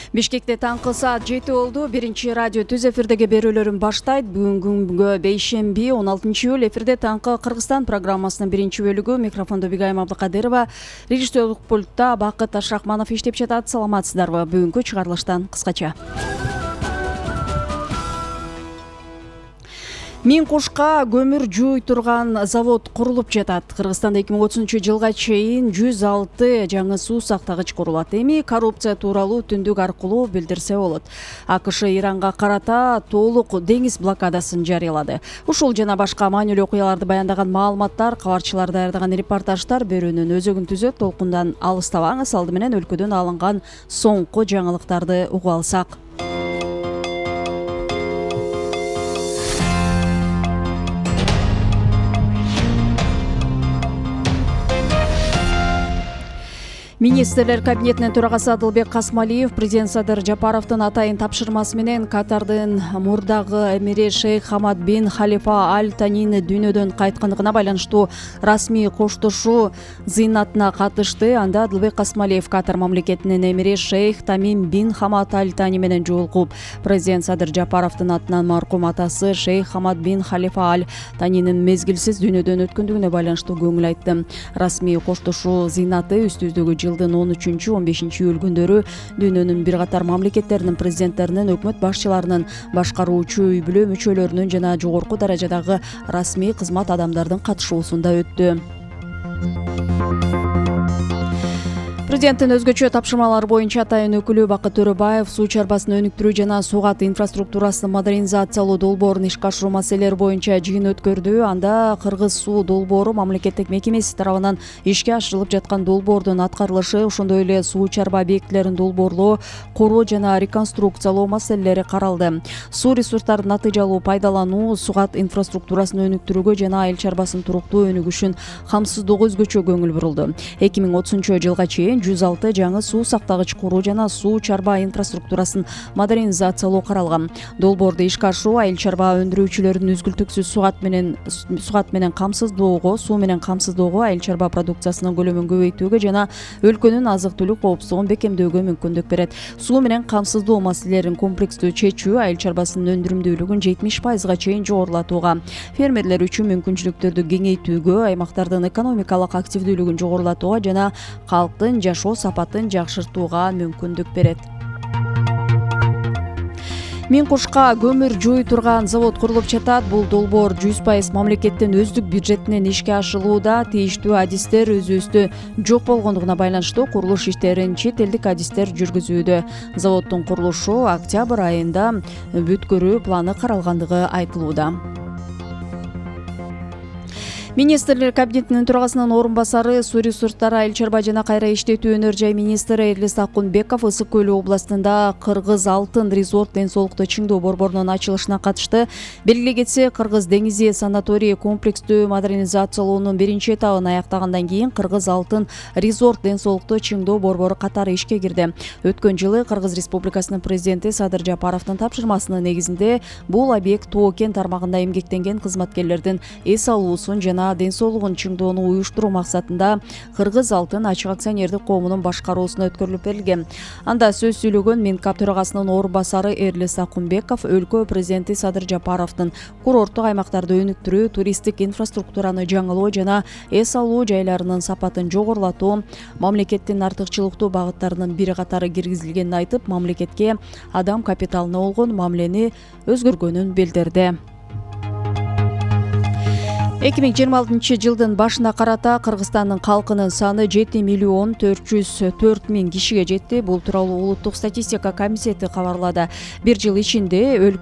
Бишкекте таңкы саат 7 болду. Биринчи радио түз эфирдеги берүүлөрүн баштайт. Бүгүнгү бейшемби 16-июль эфирде таңкы Кыргызстан программасынын биринчи бөлүгү. Микрофондо Бигайым Абдыкадырова, режиссерлук пультта Бакыт Ашрахманов иштеп жатат. Саламатсыздарбы? Бүгүнкү чыгарылыштан кыскача. Миң кушка көмүр жууй турган завод курулуп жатат. Кыргызстанда 2030-жылга чейин 106 жаңы суу сактагыч курулат. Эми коррупция тууралуу түндүк аркылуу билдирсе болот. АКШ Иранга карата толук деңиз блокадасын жарыялады. Ушул жана башка маанилүү окуяларды баяндаган маалыматтар, кабарчылар даярдаган репортаждар берүүнүн өзөгүн түзөт. Толкундан алыстабаңыз. Алды менен өлкөдөн алынган соңку жаңылыктарды угуп алсак. Министрлер кабинетинин төрагасы Адылбек Касмалиев президент Садыр Жапаровдун атайын тапшырмасы менен Катардын мурдагы эмири Шейх Хамад бин Халифа Аль Танини дүйнөдөн кайткандыгына байланыштуу расмий коштошуу зыйнатына катышты. Анда Адылбек Касмалиев Катар мамлекетинин эмири Шейх Тамим бин Хамад Аль Тани менен жолугуп, президент Садыр Жапаровдун атынан маркум атасы Шейх Хамад бин Халифа Аль Танинин мезгилсиз дүйнөдөн өткөндүгүнө байланыштуу көңүл айтты. Расмий коштошуу зыйнаты үстүбүздөгү жылдын 13-15 июль күндөрү дүйнөнүн бир катар мамлекеттеринин президенттеринин, өкмөт башчыларынын, башкаруучу үй бүлө мүчөлөрүнүн жана жогорку даражадагы расмий кызмат адамдардын катышуусунда өттү. Президенттин өзгөчө тапшырмалары боюнча атайын өкүлү Бакыт Төрөбаев суу чарбасын өнүктүрүү жана суу каты инфраструктурасын модернизациялоо долбоорун ишке ашыруу маселелери боюнча жыйын өткөрдү. Анда Кыргыз суу долбоору мамлекеттик мекемеси тарабынан ишке ашырылып жаткан долбоордун аткарылышы, ошондой эле суу чарба объектилерин долбоорлоо, короо жана реконструкциялоо маселелери каралды. Суу ресурстарын натыйжалуу пайдалануу, суу каты инфраструктурасын өнүктүрүүгө жана айыл чарбасынын туруктуу өнүгүшүн камсыздоого өзгөчө көңүл бурулду. 2030-жылга чейин 106 жаңы суу сактагыч куруу жана суу чарба инфраструктурасын модернизациялоо каралган. Долбоорду ишке ашыруу айыл чарба өндүрүүчүлөрдүн үзгүлтүксүз суугат менен камсыздоого, суу менен камсыздоого, айыл чарба продукциясынын көлөмүн көбөйтүүгө жана өлкөнүн азык-түлүк коопсуздугун бекемдөөгө мүмкүндүк берет. Суу менен камсыздоо маселелерин комплекстүү чечүү айыл чарбасынын өндүрүмдүүлүгүн 70%га чейин жогорулатууга, фермерлер үчүн мүмкүнчүлүктөрдү кеңейтүүгө, аймактардын экономикалык активдүүлүгүн жогорулатууга жана калктын жашоо сапатын жакшыртууга мүмкүндүк берет. Миң кушка көмүр жууй турган завод курулуп жатат. Бул долбоор 100% мамлекеттин өздүк бюджетинен ишке ашырылууда. Тийиштүү адистер өзүбүздө жок болгондугуна байланыштуу курулуш иштерин чет элдик адистер жүргүзүүдө. Заводдун курулушу октябрь айында бүткөрүү планы каралгандыгы айтылууда. Министрлер кабинетинин төрагасынын орун басары, суу ресурстары, айыл чарба жана кайра иштетүү өнөр жай министри Эрлис Акунбеков Ысык көлү областында Кыргыз Алтын резорт ден соолукту чыңдоо борборунун ачылышына катышты. Белгилей кетсе, Кыргыз деңизи санаторий комплекстүү модернизациялоонун биринчи этабын аяктагандан кийин Кыргыз Алтын резорт ден соолукту чыңдоо борбору катары ишке кирди. Өткөн жылы Кыргыз Республикасынын президенти Садыр Жапаровдун тапшырмасынын негизинде бул объект Тоо кен тармагында эмгектенген кызматкерлердин эс алуусун жана ден соолугун чыңдоону уюштуруу максатында Кыргыз Алтын ачык акционердик коомунун башкаруусуна өткөрүлүп берилген. Анда сөз сүйлөгөн Минкап төрагасынын орун басары Эрлис Акунбеков өлкө президенти Садыр Жапаровдун курорттук аймактарды өнүктүрүү, туристтик инфраструктураны жаңылоо жана эс алуу жайларынын сапатын жогорулатуу мамлекеттин артыкчылыктуу багыттарынын бир катары киргизилгенин айтып, мамлекетке адам капиталына болгон мамилени өзгөргөнүн билдирди. 2026-жылдын башына карата Кыргызстандын калкынын саны 7.404.000 кишиге жетти. Бул тууралуу улуттук статистика комитети кабарлады. Bir жыл ичинде